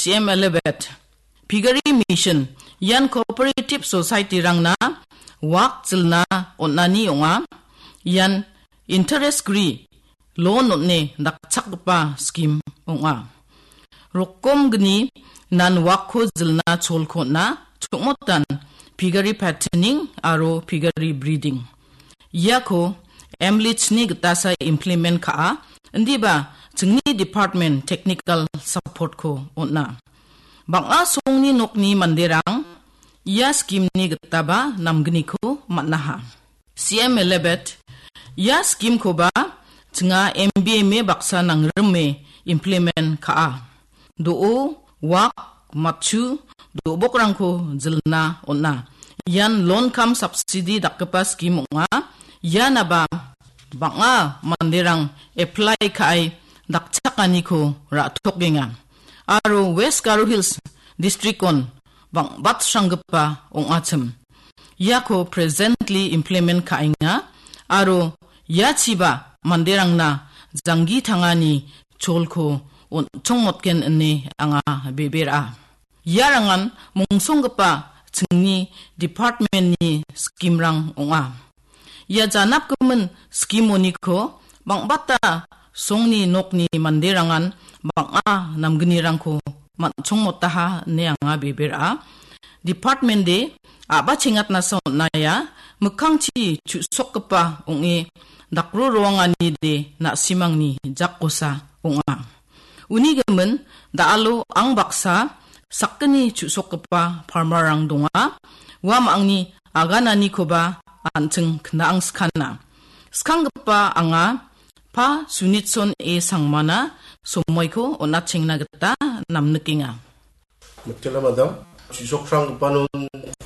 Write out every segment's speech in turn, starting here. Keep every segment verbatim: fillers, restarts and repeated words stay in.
C M Elevate, Piggery Mission, ian cooperative society-rangna wak jilna on·ani ong·a. Ian interest-gri loan on·e dakchakgipa skim ong·a. Rokomgni nan wakko jilna cholko on·a, chongmotan piggery patterning aro piggery breeding. Iako M L I H-ni gitasa implement ka·a, indiba chingni department technical support-ko on·a. Bang·a songni nokni manderang ia skimni gitaba namgniko man·aha. C M Elevate, ia skimkoba chinga M B M A baksa nangrime implement ka·a. Do·o, wak, matchu, do·bokrangko jilna on·a. Ian loan cum subsidy dakgipa skim ong·a. Ianaba bang·a manderang apply ka·e dakchakaniko ra·tokenga. Aro West Garo Hills district-on bang·batsranggipa ong·achim. Iako presently implement ka·enga aro iachiba manderangna janggi tangani cholko on·chongmotgen ine anga bebera. Iarangan mongsonggipa chingni department-ni skimrang ong·a. Ia janapgimin skimoniko bang·bata songni nokni manderangan bang·a namgnirangko man·chongmotaha ine anga bebera. Department-de a·ba chengatnasa on·aia, mikkangchi chu·sokgipa ong·e dakro roanganide na·simangni jakkosa ong·a. Uni gimin da·alo ang baksa sakgni chu·sokgipa farmer-rang donga. Uamangni agananikoba an·ching kna·angskana. Skanggipa anga Pa Sunitson A Sangmana somoiko on·atchengna gita namnikenga. Mitela madam, chu·sokranggipanon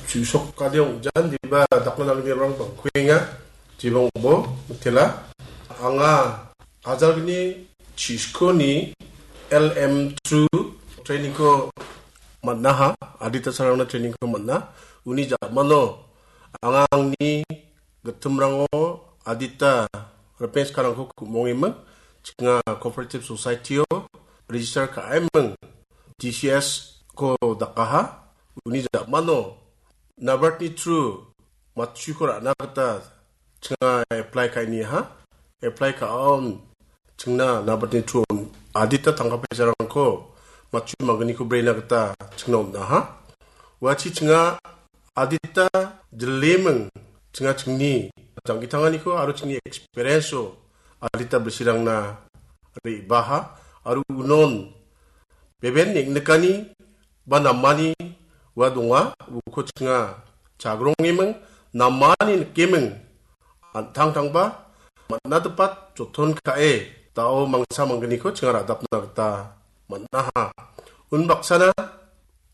chu·sokade ong·jan diba dakna nanggerang bangkuenga. Jibang bo mitela. Anga ajalgni chiskoni L M through training-ko man·aha, adita sarangna training-ko man·a. Uni ja·mano anga angni gittimrango adita ripeng skarangko ku·mongeming, chinga cooperative society-o register ka·eming, D C S-ko dakaha, uni ja·mano NABARD-ni through matchuko ra·na gita chinga apply ka·iniaha, apply ka·aon chingna NABARD-ni through adita tangka paisarangko matchu manggniko brena gita chingna on·aha. Uachi chinga adita jileming chinga chingni janggitanganiko aro chingni experience-o adita bisirangna re·baha aro unon beben neng·nikani ba namani ua donga, uko chinga chagrongeming, namani nikeming, an·tangtangba man·a dipat joton ka·e, da·o mangsa manggniko chinga ra·dapna gita man·aha. Unbaksana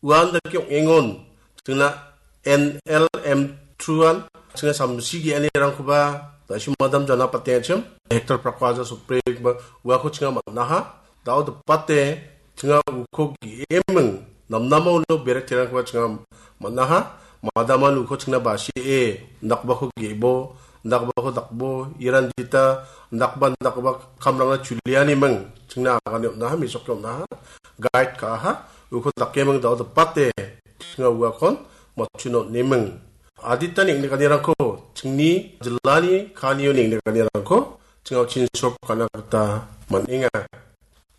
uan dake ong·engon, chingna N L M through-an, chinga samsi ge·anirangkoba, da·sim madam jana patengachim, hektar prako aja sotbre ba uako chinga man·aha. Da·o dipate, chinga uko ge·eming, namnama uno berek terangkoba chinga man·aha. Madaman uko chingna basie, indakbako ge·bo, indakbako dakbo, iran dita, indakba, indakba kamrangna chulianiming, chingna agane on·aha, mesoke on·aha, guide ka·aha, uko dakeming da·o dipate, chinga uakon, matchuno on·eming. Adita neng·nikanirangko, chingni jilani kanio neng·nikanirangko, chinga chin sop ka·na gita man·enga.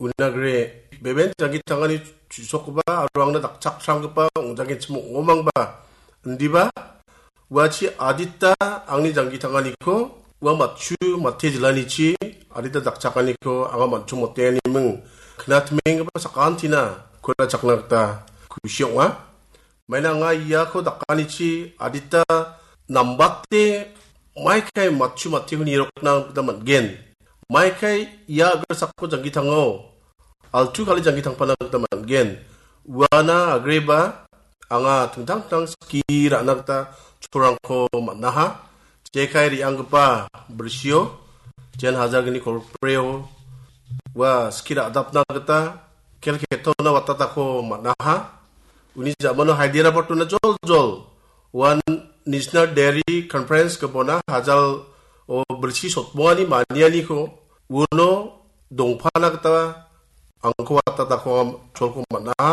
Unagre, beben janggi tangani chu·sokgipa aro angna dakchakpranggipa ong·janggenchim ong·omangba. Indiba, uachi adita angni janggi tanganiko, ua matchu mate jilanichi adita dakchakaniko anga man·chong motenganiming knatmenggipa sakantina kolachakna gita kusi ong·a. Maina anga iako dakanichi adita nambate maikai matchu mateko nirokna gita man·gen. Maikai ia agrasako janggi tango, altu kali janggi tangpana gita man·gen. Uana agreba anga tangtang tang ski ra·na gita cholrangko man·aha. Jekai re·anggipa brisio, jen hajar gni kolpreo, ua ski ra·dapna gita kelketona watatako man·aha. Uni ja·mano Hyderabad-ona joljol uan National Dairy Conference gipona hajal o britsi sotbongani manianiko uno dongpana gita angko watatako cholko man·aha.